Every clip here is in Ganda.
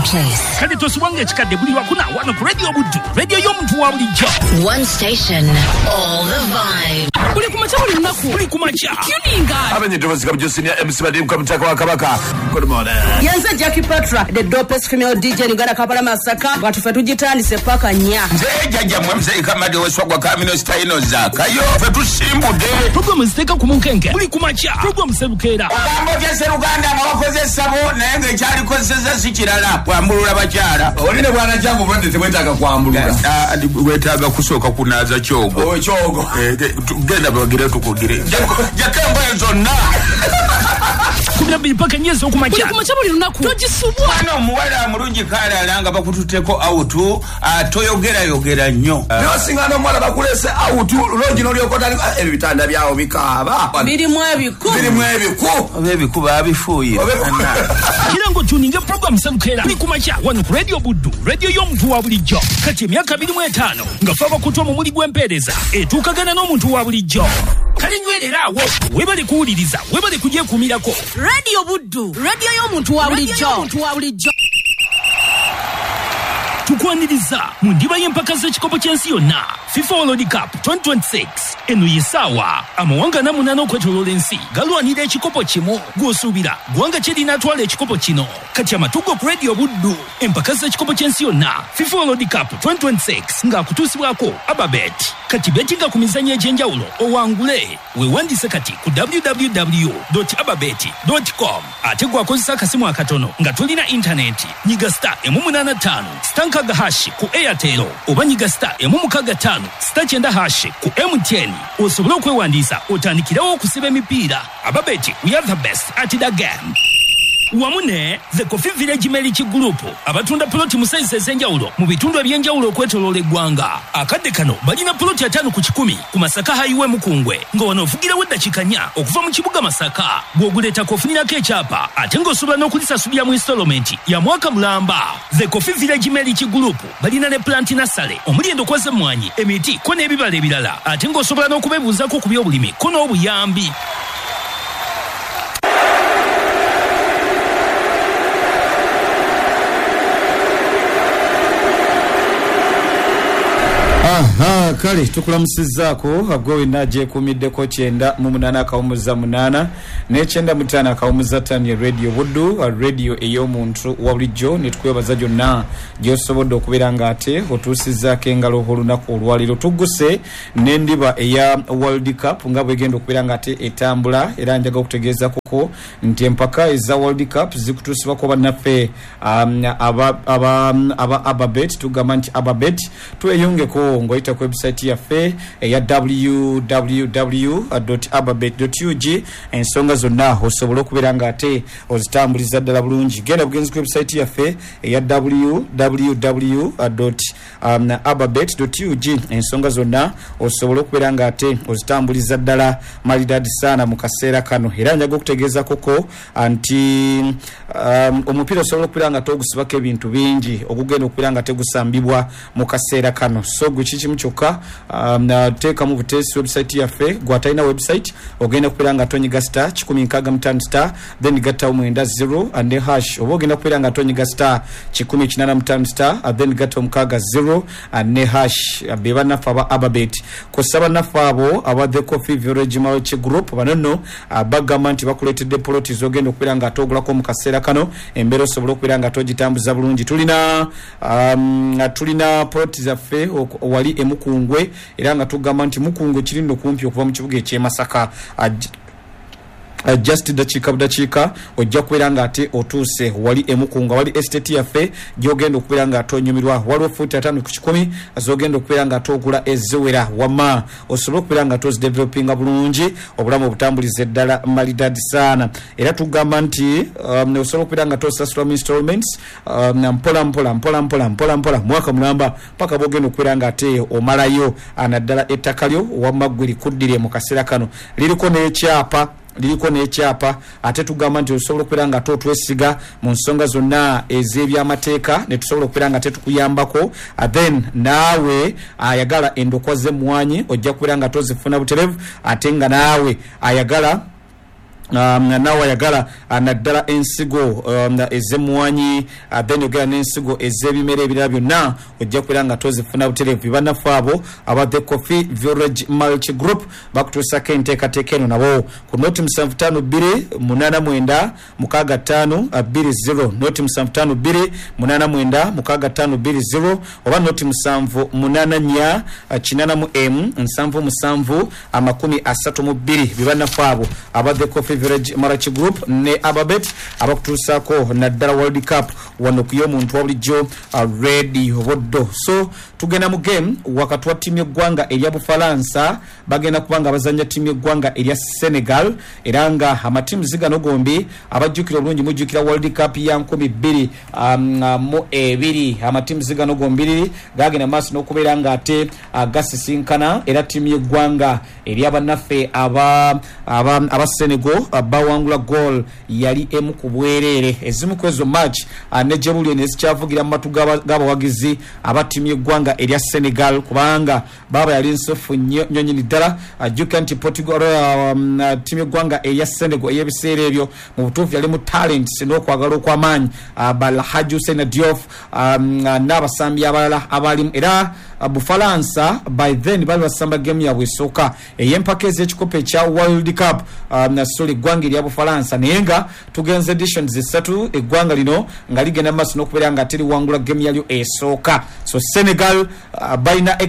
place. Kale tosubwanga ekikadde buli lwakuna wano ku Radio Buddu, radio y'omuntu wa bulijjo. One station, all the vibes. Buli kumakya buli lunaku. Buli kumakya. Tuninga. Abenye Thomas Kabjo Senior MC Badimu Kamutaka wa Kabaka. Good morning. Yenze Jackie Patra, the dopest female DJ in Uganda, Kampala Masaka. Watu tujitandise paka nya. Nze jajja mwe mzee Kamadi weswagwa Kamino Style Zakayo. Ffe tusimbudde. Programu ziteeka ku munkenke. Buli kumakya. Programu Serukeera. Ogambo tya Seruganda nga wakoze essabo naye ng'ekyalikozesezza si kirala. Kwambulula bakyala. Olina bwana kyangu bwente tebwetaaga kwambulula. Wetaaga kusooka kunaaza kyogo. Oh, kyogo. Genda bagire tukugire. Jaka engoye zonna. 12 paka nyezi okumakya. Buli kumakya buli lunaku. Togisubwa. Mwana omuwala mulungi kalala nga bakututteko awutu, toyogerayogera nnyo. Naye osinga n'omuwala bakuleese awutu, loogi n'olyoka otandika, ebitanda byawo bikaaba. Birimu ebiku. Birimu ebiku. Oba ebiku baabifuuyira. Kira ng'otuninga program Serukeera. Buli kumakya wano ku Radio Buddu, radio y'omuntu wa bulijjo. Kati emyaka 25 nga ffe abakutu omumuli gw'empeereza etuukagana n'omuntu wa bulijjo. Kale nywerera awo, weebale kuwuliriza, weebale kugyekuumirako. Radio Buddu, radio y'omuntu wa bulijjo. Tukwaniriza mu ndiba y'empaka z'ekikopo ky'ensi yonna FIFA World Cup 2026. Eno ye ssaawa amawanga 48 okwetooloola ensi galwanira ekikopo kimu. Gw'osuubira ggwanga ki erinaatwala ekikopo kino? Kati amatugo ku Radio Buddu, empaka z'ekikopo ky'ensi yonna FIFA World Cup 2026 ng'akutuusibwako Ababet. Kati betinga ku mizannyo egy'enjawulo owangule. Weewandiise kati ku www.ababet.com. Ate gw'akozesa akasimu akatono nga tolina intaneti, nyiga star 885 star 6 hash ku Airtel oba nyiga star 665 star 9 hash ku MTN osobole okwewandiisa otandikirawo okusiba emipiira. Ababet, we are the best at the game. Wamu ne The Coffee Village Meliki Group abatunda poloti mu sayizi ez'enjawulo mu bitundu eby'enjawulo okwetooloola eggwanga. Akadde kano balina poloti 5 ku 100 ku Masaka Highway Mukungwe nga wano ovugirawo eddakiika 4 okuva mu kibuga Masaka. Bw'oguleetako ofunirako ekyapa ate ng'osobola n'okulisasulira mu installment ya mwaka mulamba. The Coffee Village Meliki Group balina ne plant nursery omuli endokwa z'emmwanyi, emiti ko n'ebibala ebirala ate ng'osobola n'okubeebuuzaako ku by'obulimi ko n'obuyambi. Aha, kale tukulamusizzaako gwe wenna gyekuumiddeko 98.8 ne 95.5 Radio Buddu, radio ey'omuntu wa bulijjo. Ne tukwebaza gyonna gy'osobodde okubeera ng'ate otuusizzaako engalo olunaku olwaleero. Tugguse n'endiba eya World Cup nga bwegenda okubeera ng'ate etambula, era njaga okutegeeza kuko nti empaka eza World Cup zikutuusibwako bannaffe aba Ababet. Tugamba nti Ababet tweyongeko ng'oyita ku website yaffe eya www.ababet.ug, ensonga zonna osobola okubeera ng'ate ozitambuliza ddala bulungi. Genda bugenzi ku website yaffe eya www.ababet.ug, ensonga zonna osobola okubeera ng'ate ozitambuliza ddala malidadi sana mu kaseera kano. Era njaga okutegeeza koko nti omupiira osobola okubeera nga togusibako ebintu bingi ogugenda okubeera nga tegusambibwa mu kaseera kano. So gwe kikimu kyokka, teekamu buteesi website yaffe. Gwatalina website ogenda kubeera nga tonyiga star 165 star then gattawo 90 and then hash, oba ogenda kubeera nga tonyiga star 185 star then gattawo 60 and ne hash. Be bannaffe aba Ababet. Kw'ossa bannaffe abo aba The Coffee Village Multi Group bano nno bagamba nti bakuleetedde poloti z'ogenda okubeera nga toogulako mu kaseera kano, embeera osobola okubeera nga togitambuza bulungi. Tulina poloti zaffe wali e Mukungwe, era nga tugamba nti Mukungwe kiri nno kumpi okuva mu kibuga eky'e Masaka. Just dakiika budakiika ojja kubeera ng'ate otuuse wali e Mukunga, wali estate yaffe gy'ogenda okubeera ng'ate onyumirwa. Waliwo fuuti 5 ku 100 z'ogenda okubeera ng'ate ogula eziwera, wamma osobole okubeera ng'ate ozidevelopinga bulungi, obulamu obutambulize ddala malidadi saana. Era tugamba nti osobola okubeera ng'ate osasula mu installments mpola mpola mpola mpola mpola mpola mwaka mulamba paka bw'ogenda okubeera ng'ate omalayo naddala ettaka lyo wamma ggwe likuddire mu kaseera kano. Liriko n'ekyapa, liriko n'ekyapa, ate tugamba nti osobola okubeera nga otwesiga mu nsonga zonna ez'ebyamateeka ne tusobola okubeera nga tetukuyambako. Then naawe ayagala endokwa z'emmwanyi ojja kubeera nga tozifuna buterevu, ate nga naawe ayagala Naawe ayagala naddala ensigo ez'emmwanyi, then ogera n'ensigo ez'ebimera ebirala byonna, ojja kubeera nga tozifuna butereevu. Bannaffe abo aba The Coffee Village Mulch Group bakutuusako enteekateeka eno nabo ku noti 752 89 65 20, noti 752 89 65 20 oba noti 784 8M 77 32. Bibannaffe abo aba The Coffee Village Mulch Group ne Ababet abakutuusaako naddala World Cup wano ku y'omuntu wa bulijjo Radio Buddo. So tugenda mu game wakati wa ttiimu y'eggwanga erya Bufalansa, bagenda kuba nga bazannya ttiimu y'eggwanga erya Senegal, era nga amatiimu zigano gombi abajjukira obulungi mujjukira World Cup ya 2022, amatiimu zigano gombiriri gagenda maaso n'okubeera nga ate gasisinkana, era ttiimu y'eggwanga eryabannaffe aba Senegal bawangula goal yali emu ku bwereere. Ezimu ku ezo match ne gye buli nezikyavugira mu matu g'abawagizi aba ttiimu y'eggwanga erya Senegal, kubanga baba yali nsofu nnyo nnyini ddala. Ajjukira nti Portugal, ttiimu y'eggwanga erya Senegal ey'ebiseera ebyo mu butuufu yali mu talents n'okwagala okw'amaanyi, Balhaji Hussein Diouf n'abasambi abalala abalimu, era Bufalansa by then bali basamba game yabwe esooka ey'empaka ez'ekikopo ekya World Cup, sorry, eggwanga erya Bufalansa, naye nga tugenze editions esatu eggwanga lino nga ligenda maaso n'okubeera nga teriwangula game yalyo esooka. So Senegal balina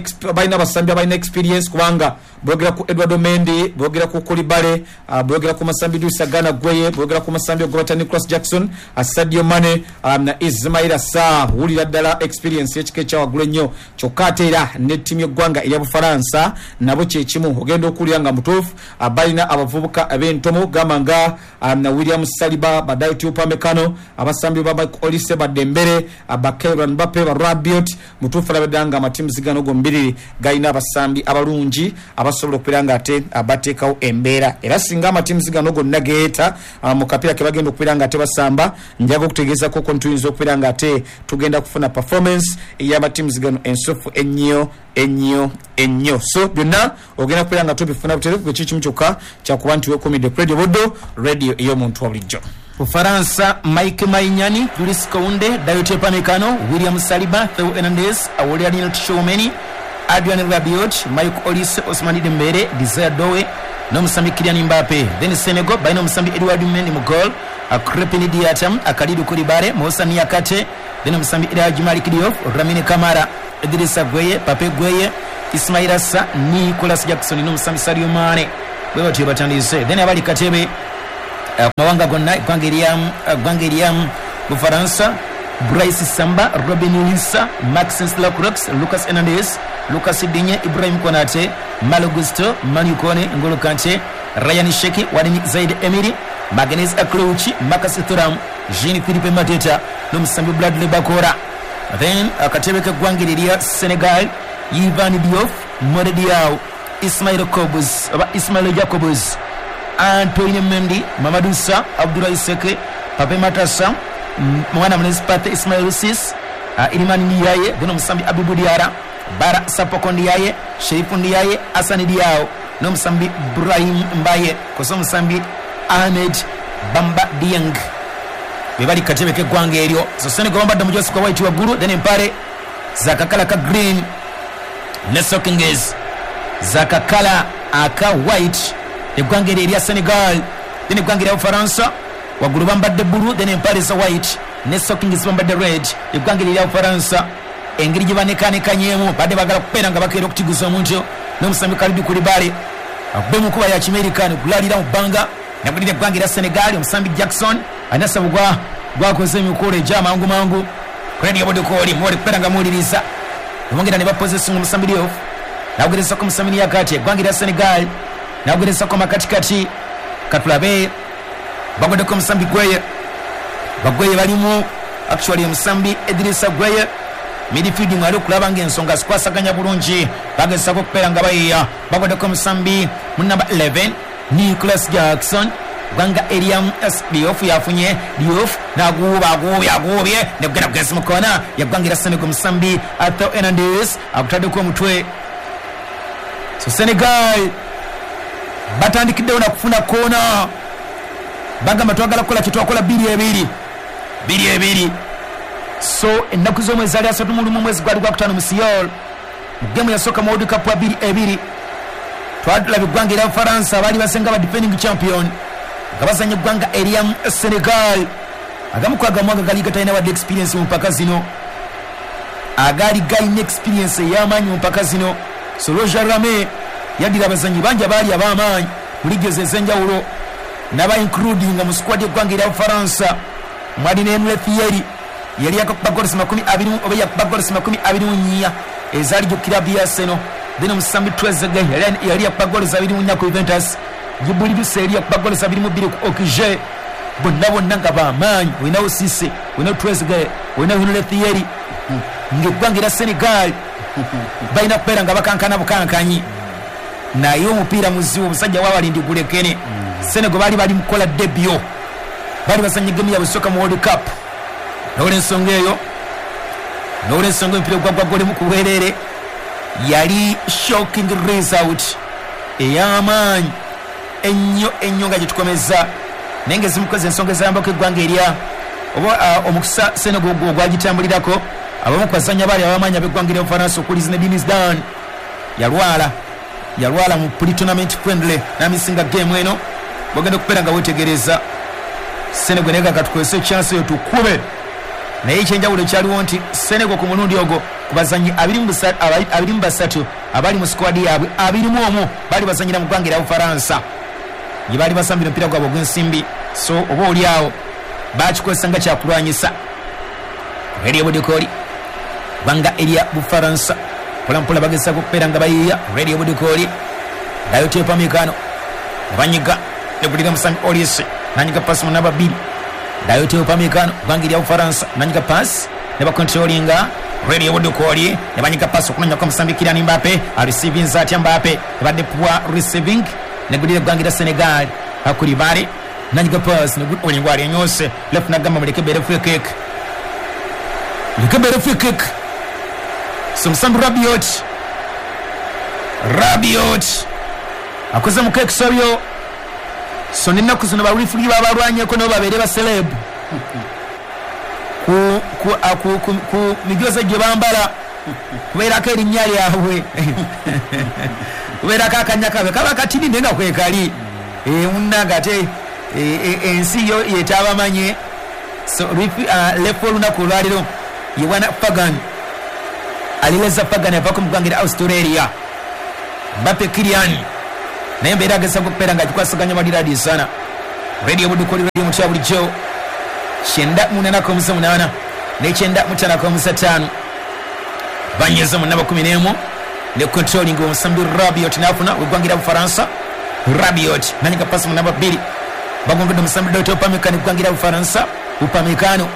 abasambi abalina experience, kubanga bwogera ku Eduardo Mendy, bwogera ku Koulibaly, bwogera ku Masambi Dusa Gana Gueye, bwogera ku Masambi Ogobata Nicolas Jackson, Sadio Mane na Ismaila Sarr, wulira ddala experience ekika ekyawaggulu ennyo. Kyokka ate era ne ttiimu y'eggwanga erya Bufalansa nabo kyekimu, ogenda okuwulira nga mutuufu balina abavubuka ab'entomo gamba nga na William Saliba, Badayot Upamecano, abasambi ba Michael Olise, ba Dembele, ba Kylian Mbappe, ba Rabiot. Mutuufu alabedda nga amatiimu zigano gombiriri galina abasambi abalungi abasobola okubeera nga ate bateekawo embeera, era singa amatiimu zigano gonna geeta mu kapiira ke bagenda okubeera nga ate basamba, njaga okutegeezako ko ntuyinza okubeera nga ate tugenda kufuna performance ey'amatiimu zigano ensufu ennyo ennyo ennyo. So byonna ogenda kubeera nga tubifuna butereevu, bwe kikimu kyokka kyakuba nti weekuumidde ku Radio Buddo, radio ey'omuntu wa bulijjo. Ufaransa, Mike Maignan, Jules Kounde, Dayot Upamecano, William Saliba, Theo Hernandez, Aurelien Tchouameni, Adrien Rabiot, Michael Olise, Ousmane Dembele, Desire Doue n'omusambi Kylian Mbappe. Then Senegal balina omusambi Edouard Mendy mu goal, Krépin Diatta, Kalidou Koulibaly, Moussa Niakate, then omusambi El Hadji Malick Diouf, Lamine Camara, Idrissa Gueye, Pape Gueye, Ismaila Sarr, Nicolas Jackson n'omusambi Sadio Mane. Bwe batyo batandise. Then abali katebe mawanga gonna, eggwanga erya Bufaransa, Brice Samba, Robin Lisa, Maxence Lacroix, Lucas Hernandez, Lucas Digne, Ibrahim Konate, Malo Gusto, Manu Kone, N'Golo Kante, Ryan Sheki, Warren Zaid Emery, Magnus Aklouchi, Marcus Thuram, Jean Philippe Mateta n'omusambi Bradley Bakora. Then akatebe k'eggwanga erya Senegal, Ivan Diouf, Mode Diaw, Ismail Kobus oba Ismail Jacobs, Antoine Mendy, Mamadou Sarr, Abdoulaye Seke, Pape Matassa, mwana mulenzi Pate Ismail Sis, Iliman Ndiaye, then omusambi Abibou Diarra, Bara Sapoko Ndiaye, Sherifu Ndiaye, Assane Diao n'omusambi Brahim Mbaye kosa omusambi Ahmed Bamba Dieng. Be bali katebe k'eggwanga eryo. So Senegal bambadde omujosi gwa white waggulu, then empale zakakala ka green ne stockings zakakala aka white, eggwanga eryo erya Senegal. Then eggwanga erya Bufaransa waggulu bambadde bbulu, then empale za white ne stockings bambadde red. Eggwanga eryo erya Bufaransa engeri gye banekanekanyemu badde bagala kubeera nga bakeera okutiguza omuntu n'omusambi Kalidou Koulibaly akube mu nkuba ya Kimerika nekulalira mu bbanga. Nagulira eggwanga erya Senegal, omusambi Jackson anasaba gwakoze emikolo egy'amangu mangu. Radio Buddo kooli mwoli kubeera nga muwuliriza, bongera ne bapossessinga omusambi Diouf, nakugerezako omusambi Niakate. Eggwanga erya Senegal nakugerezako makatikati, katulabe bagoddeko omusambi Gueye. Bagweye balimu actually omusambi Idrissa Gueye midfield mwali okulaba ng'ensonga zikwasaganya bulungi, bagezako okubeera nga bayiya. Bagoddeko omusambi mu namba 11 Nicolas Jackson, gwanga erya Diouf yafunye Diouf naguuba aguubye aguubye negugenda kugezi mu koona yaggwanga erya Senegal, omusambi Theo Hernandez agutaddeko omutwe. So Senegal batandikiddewo nakufuna koona. Bagamba twagala kukola kye twakola 2-2. 2-2. So ennaku z'omwezi ali 31 mwezi gwali gwakutaano mu Seoul. Mu gemu yasooka mu World Cup wa 2-2. Twalaba eggwanga erya Bufaransa baali basenga ba defending champion nga bazannya eggwanga erya Senegal. Agamu ku agamu agali gatalina wadde experience mu mpaka zino, agaali galina experience ey'amaanyi mu mpaka zino. So Roger Rame yaddira abazannyi bangi abaali ab'amaanyi mu liigi ez'enjawulo n'aba including mu squad y'eggwanga erya Bufaransa. Mwali ne Emile Thierry yali yakuba goals 20 oba yakuba goals 24 ezaali ku kilabu ya Arsenal. Then omusambi Trezeguet yali yakuba goals 24 ku Juventus. Djibril Cissé yali yakuba goals 22 ku Auxerre. Bonna bonna nga b'amaanyi, olinawo Cissé, olinawo Trezeguet, olinawo Emile Thierry. Ng'eggwanga erya Senegal balina kubeera nga bakankana bukankanyi, naye omupiira muzibu, omusajja w'abalindi gulekene. Senegal baali bali mukukola debut, baali bazannya gemu yaabwe esooka mu World Cup. N'olwensonga eyo, n'olwensonga omupiira ogwagwa golimu ku bwereere yali shocking result ey'amaanyi ennyo ennyo nga gye tukomeza. Naye ng'ezimu ku ensonga ezayambako eggwanga erya oba omukisa Senegal ogwagitambulirako, abamu ku bazannyi abaali ab'amaanyi ab'eggwanga erya Bufaransa okuli Zinedine Zidane yalwala mu pre-tournament friendly n'amisinga game eno. Bagenda okubeera nga weetegereza Senegal naye nga tukozese chance eyo tukube. Naye ekyenjawulo ekyaliwo nti Senegal ku mulundi ogwo ku bazannyi 23 abali mu squad yaabwe, 21 baali bazannyira mu ggwanga erya Bufaransa gye baali basambira omupiira gwabwe ogw'ensimbi. So oba oli awo bakikozesa nga kyakulwanyisa. Radio Budikoli ggwanga erya Bufaransa mpolampola bagezaako okubeera nga bayiiya. Radio Budikoli Dayot Upamecano banyiga negulira musambi Olise nanyiga pasi mu namba 2. Dayot Upamecano ggwanga erya Bufaransa nanyiga pasi ne bakontrolinga Radio Budikoli ne banyiga pasi okunonyako omusambi Kylian Mbappe. Areceiving atya Mbappe, ebadde poor receiving negulira eggwanga erya Senegal. Akulibale nanyiga pasi olingo alyenyose left nagamba muleke bere free kick, muleke bere free kick. So musambi Rabiot akoze mu kekisobyo. So n'ennaku zino ba referee babalwanyeko nabo babeere ba celeb ku mijozi gye bambala kubeerako erinnya lyabwe, kubeerako akanya kaabwe kaba katini naye nga kwekali munnange ate ensi yo yetabamanye. So lefu olunaku olwaleero ye bwana Fagan Alireza Fagan avako mu ggwanga erya Australia. Mbappe Kylian naye mbeera agezaako okubeera nga agikwasaganya maliradi sana. Radio Budukoli radio mutya bulijjo 98.8 ne 95.5 banyeza mu namba 11 ne controlling omusambi Rabiot n'afuna w'eggwanga erya Bufaransa. Rabiot nanyiga pasi mu namba 2 bagongedde omusambi Dayot Upamecano eggwanga erya Bufaransa. Upamecano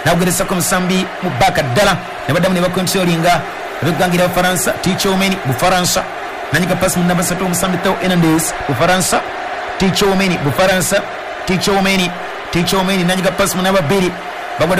n'agugeresako omusambi mu baka ddala ne baddamu ne bakontrolinga ab'eggwanga erya Bufaransa. Tchouameni Bufaransa nanyiga pasi mu namba 3 omusambi Theo Hernandez Bufaransa. Tchouameni Bufaransa, Tchouameni nanyiga pasi mu namba 2